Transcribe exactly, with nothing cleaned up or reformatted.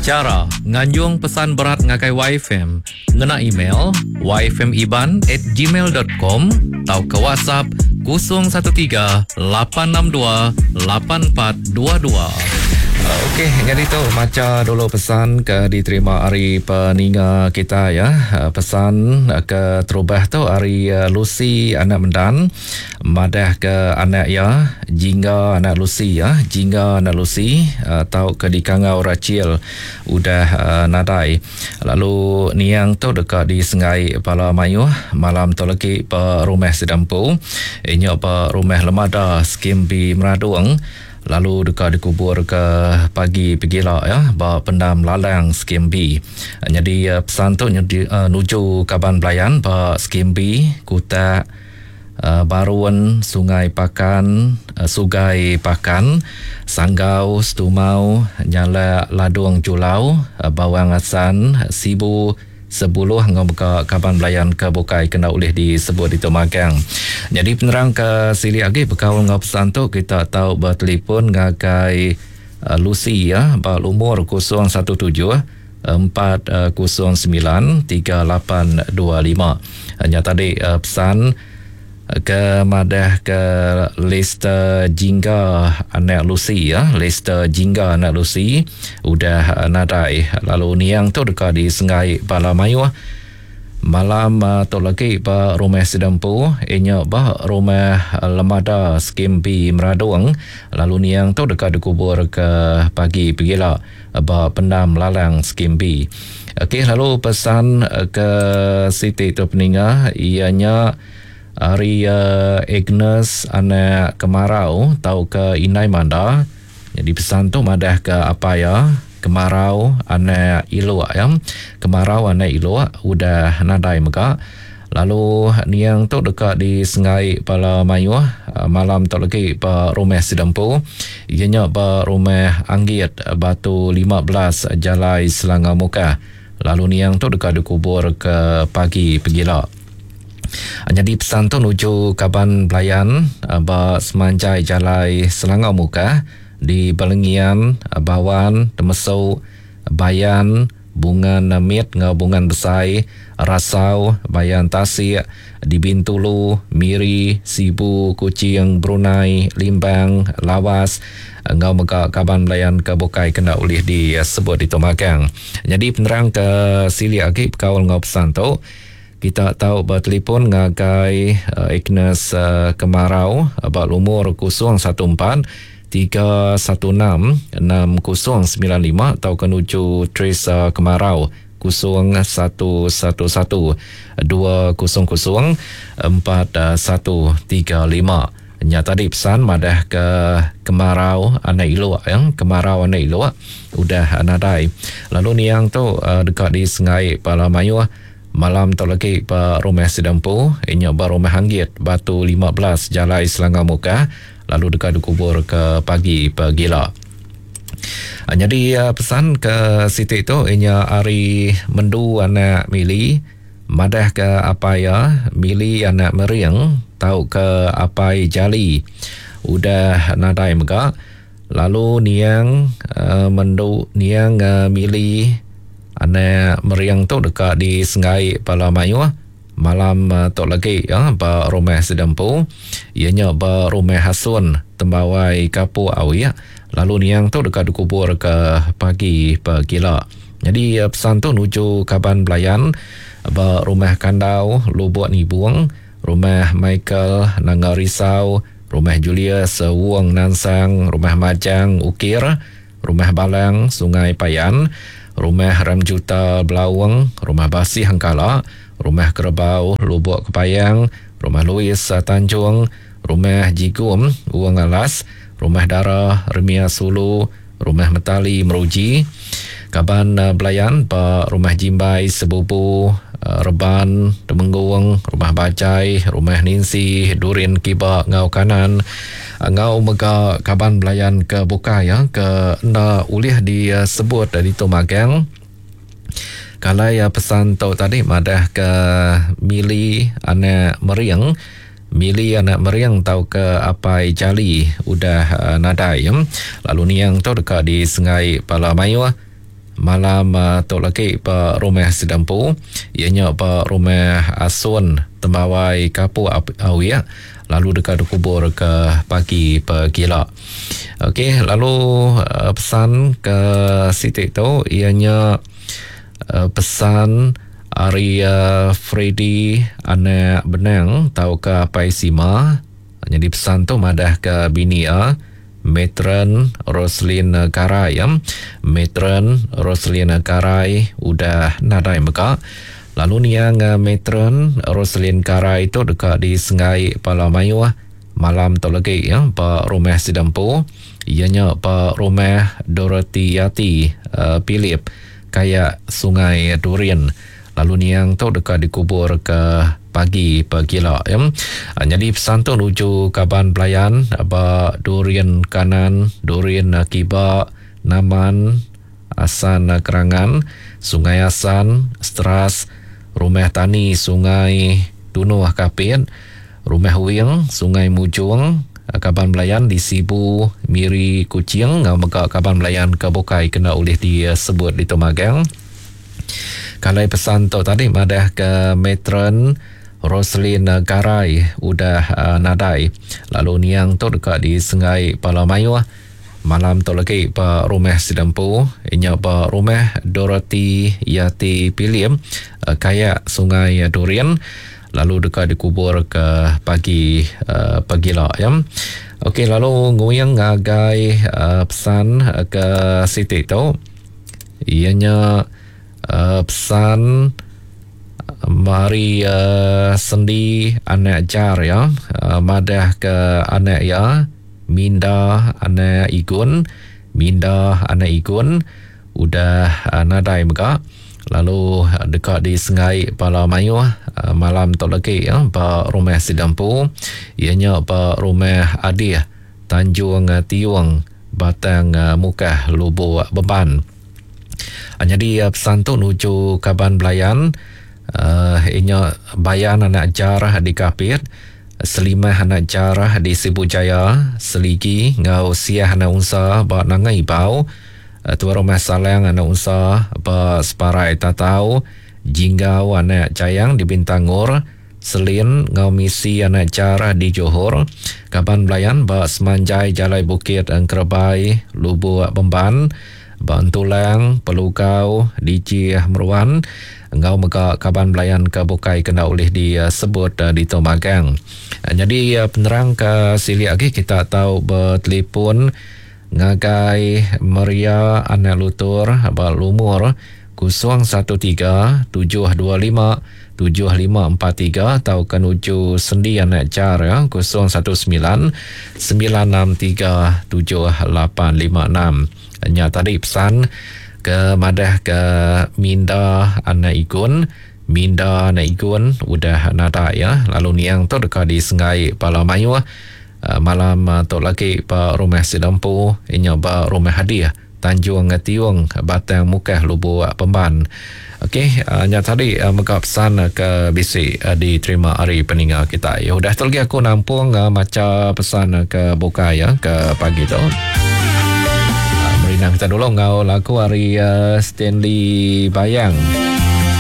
Chara nganjung pesan berat ngagai Y F M ngena email y f m iban at gmail dot com tauka WhatsApp kosong satu tiga lapan enam dua lapan empat dua dua. Okey, jadi tu maca dulu pesan ke diterima hari peninga kita ya. Pesan ke terubah tu hari Lucy anak Mendan madah ke anak ya, Jingga anak Lucy ya, Jingga anak Lucy tau ke dikangau Rachel udah nadai. Lalu niang tu dekat di Sengai Pala Mayuh malam tu lagi pe rumah Sedampu. Inyo pe rumah Lemada Skim B Meradung. Lalu dekat dikubur ke pagi pegila ya ba pendam Lalang Skim B. Jadi pesan tu nyedi, uh, nuju kaban belayan ba Skim B Kutak uh, Barun Sungai Pakan uh, Sugai Pakan Sanggau Setumau Nyala Ladung Julau uh, Bawang Asan Sibu Sebuluh ngau buka kaban belayan ke bukai kena ulih disebut itu magang. Jadi penerang ke sili lagi bekaul ngau pesan tu kita tahu bertelefon ngagai uh, Lucy ya ba lumur kosong satu tujuh empat kosong sembilan tiga lapan dua lima. Hanya tadi uh, pesan ke madah ke Lester Jingga anak Lucy ya, Lester Jingga anak Lucy udah nadai. Lalu niang tu dekat di Sengai Bala Mayuh malam uh, tu lagi ba rumah Sedempu inyo ba rumah Lemada Skim B Meradung. Lalu niang tu dekat dikubur ke pagi pegila ba pendam Lalang Skim B. Okey, lalu pesan ke Siti tu peninga ianya hari uh, Agnes anak Kemarau tau ke Inai Manda. Jadi pesan tu madah ke apa ya Kemarau anak Iluk ya. Kemarau anak Iluk udah nadai mega. Lalu niang tu dekat di Sengai Pala Mayuh malam tu lagi ba rumah Sidempu. Ianya ba rumah Anggit Batu lima belas Jalai Selangau Mukah. Lalu niang tu dekat dikubur ke pagi pegila. Jadi pesan tu nuju kaban belayan ba semanjai Jalai Selangau Mukah di Balengian, Bawan, Temesau, Bayan, Bungan Mit ngau Bungan Besai, Rasau, Bayan Tasik, di Bintulu, Miri, Sibu, Kuching, Brunei, Limbang, Lawas, ngau mega kaban belayan ke bukai kena ulih disebut di Tomagang. Jadi penerang ke sili agi bekaul ngau pesan tu kita tahu bertelefon ngagai uh, Agnes uh, Kemarau ba lumur kosong satu empat tiga satu enam enam kosong sembilan lima atau ke nuju Teresa Kemarau kosong satu satu satu dua kosong kosong empat satu tiga lima. Nya tadi pesan madah ke Kemarau anak Iluk yang Kemarau anak Iluk udah nadai. Lalu niang tu uh, dekat di Sengai Pala Mayuh malam tu lagi ba rumah Sidempu inyo ba rumah Anggit Batu lima belas Jalai Selangau Mukah. Lalu dekat dikubur ke pagi pegila. Jadi pesan ke Siti tu inya ari Mendu anak Mili madah ke apa ya Mili anak Mering tau ke apai Jali udah nadai mega. Lalu niang uh, Mendu niang uh, Mili anak Meriang tu dekat di Sengai Pala Mayuh malam uh, tu lagi ya ba rumah Sedempu ianya ba rumah Hasun Tembawai Kapuk Awi. Lalu niang tu dekat dikubur ke pagi pegila. Jadi uh, pesan tu nuju kaban belayan ba rumah Kandau Lubuk Nibung, rumah Michael Nanga Risau, rumah Julius Wong Nansang, rumah Majang Ukir, rumah Balang Sungai Payan, rumah Ramjuta Belawang, rumah Basih Hangkala, rumah Kerbau Lubuk Kepayang, rumah Louis Tanjung, rumah Jigum Uang Alas, rumah Dara Remia Sulu, rumah Metali Meruji, kaban belayan ba rumah Jimbai Sebubu, Reban Temenggung, rumah Bajai, rumah Ninsi, Durin Kiba ngau kanan, ngau mega kaban belayan ke bukai ya ke enda ulih disebut dari tu magang. Kalau ya pesan tu tadi madah ke Mili anak Meriang, Mili anak Meriang tau ke apai Jali udah uh, nadai ya. Lalu niang tu dekat di Sengai Pala Mayuh malam uh, tu lagi ba rumah Sidampu, ianya ba rumah Asun Tembawai Kapuk Awiak, lalu dekat dikubur ke pagi pegila. Okey, lalu uh, pesan ke Siti tu ianya uh, pesan ari uh, Freddy anak Benang tau ke Apai Sima. Jadi pesan tu madah ke bini a Matron Roslin Garai ya. Matron Roslin Garai udah nadai mega. Lalu niang Matron Roslin Garai tu dekat di Sengai Pala Mayuh malam tu lagi ya, ba rumah Sidampu, ianya ba rumah Dorothy Yati uh, Philip kayak Sungai Durin. Lalu niang tu dekat dikubur ke pagi pegila ya. Jadi pesan tu nuju kaban pelayan ba Durian Kanan, Durian Kiba, Naman, Asan Kerangan, Sungai Asan, Stras, Rumah Tani Sungai Tunuh Kapit, Rumah Wing, Sungai Mujung, kaban pelayan di Sibu, Miri, Kuching, ngau mega kaban pelayan ke bukai kena oleh disebut di Tumagang. Kalau pesan tu tadi madah ke Matron Roslin Garai udah uh, nadai. Lalu niang tu dekat di Sengai Pala Mayuh malam tu lagi ba rumah Sidampu, inya ba rumah Dorothy Yati Pilim uh, kayak Sungai Durian, lalu dekat dikubur ke pagi uh, pagila ya. Okey, lalu nguyang ngagai uh, pesan uh, ke Siti tu ianya Uh, pesan uh, mari uh, sendi anak jar ya, uh, madah ke anak ya Minda anak Igun, Minda anak Igun udah uh, nadai mega. Lalu uh, dekat di Sengai Pala Mayuh uh, malam tu lagi ya, ba rumah Sidampu, ianya ba rumah Adih Tanjung uh, Tiung Batang uh, Mukah Lubuk Beban. Jadi pesan tu nuju kaban belayan uh, inya Bayan anak Jarah di Kapit, Selimah anak Jarah di Sibu Jaya, Seligi ngau Siah anak Unsa ba Nanga Ibau, Tuan Rumah Salang anak Unsa ba Separai Tatau, Jinggau anak Jayang di Bintangor, Selin ngau Misi anak Jarah di Johor, kaban belayan ba Semanjai Jalai Bukit Engkerebai Lubuk Bemban, Bantulang, Pelugau, Dijih Meruan, engau mega kaban belayan ke bukai kena oleh disebut uh, di Tomagang. Uh, jadi uh, penerang ke silik lagi kita tahu bertelefon ngagai Maria anak Lutur ba lumur kosong satu tiga tujuh dua lima tujuh lima empat tiga atau kenuju sendi anak jar ya kosong satu sembilan sembilan enam tiga tujuh lapan lima enam. Nya tadi pesan ke madah ke Minda anak Igun, Minda anak Igun udah nada ya. Lalu niang tu dekat di Sengai Pala Mayuh malam tu lagi ba rumah Sidampu, inya ba rumah Hadiah Tanjung Tiung Batang Mukah Lubuk Pemban. Okey, uh, nya tadi uh, mega pesan uh, ke bisi uh, diterima hari peninga kita. Ya udah tu lagi aku nampung uh, maca pesan uh, ke buka ya ke pagi tu. Uh, merinang kita dulu ngau lagu hari uh, Stanley Bayang.